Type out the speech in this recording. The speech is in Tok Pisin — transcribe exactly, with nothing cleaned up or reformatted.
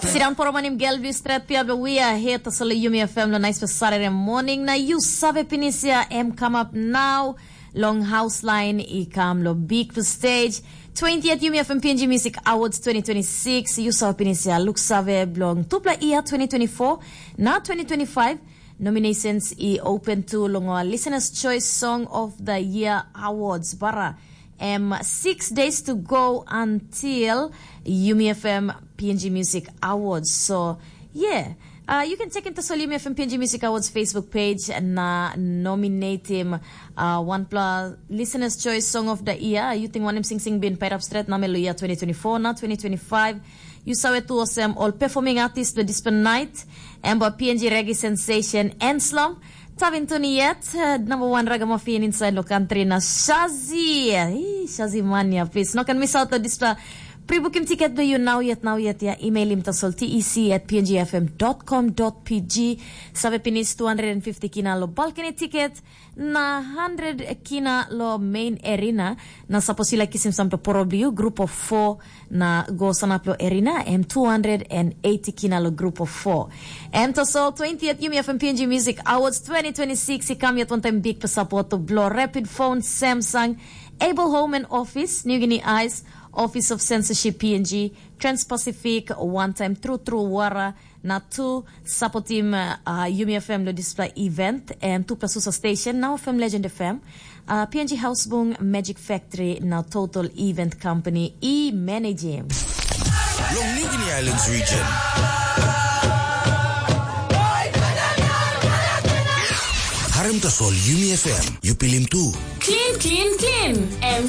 Sit down for a morning, girl. We straight here, but we are here to solo Yumi F M lo nice for Saturday morning. Na you save pinisia em come up now. Long house line i come lo big for stage. twentieth Yumi F M P N G Music Awards twenty twenty-six. You save pinisia look save blong tupla year twenty twenty-four. Now twenty twenty-five. Nominations i open to long our Listener's Choice Song of the Year Awards. Bara em six days to go until Yumi F M P N G Music Awards. So, yeah. Uh, you can check into Sol Yumi F M P N G Music Awards Facebook page na nominate him uh, one plus Listener's Choice Song of the Year. You think one him sing sing been paid up straight na meluya twenty twenty-four na twenty twenty-five. You saw it to osem all performing artist with this night. Emba P N G Reggae Sensation Enslom. Tavin tuni yet, uh, number one ragamuffin inside lo country na Shazi. Hey, Shazi Mania, please. No can miss out on this. Uh, pre-booking ticket do you now yet, now yet, yeah. Email him to sol T E C at P N G F M dot com dot P G. Save pinis two hundred fifty kina lo balcony ticket. Na hundred kina lo main arena. Na sapos you like kisim some to probably you group of four na go sanap lo arena em two hundred eighty kina lo group of four. Em to sol twentieth Yumi F M P N G Music Awards twenty twenty-six i kam yet one time big pa support to blo Rapid Phone, Samsung, Able Home and Office, New Guinea Eyes, Office of Censorship P N G, Trans-Pacific, one time True True Wara, na tu supportim uh, Yumi F M lo display event em tu plus usa station now F M Legend F M, uh, P N G House Bung, Magic Factory na Total Event Company i manage him. Long New Guinea Islands region. Harem tasol Yumi F M, you pilim tu. Clean, clean, clean. M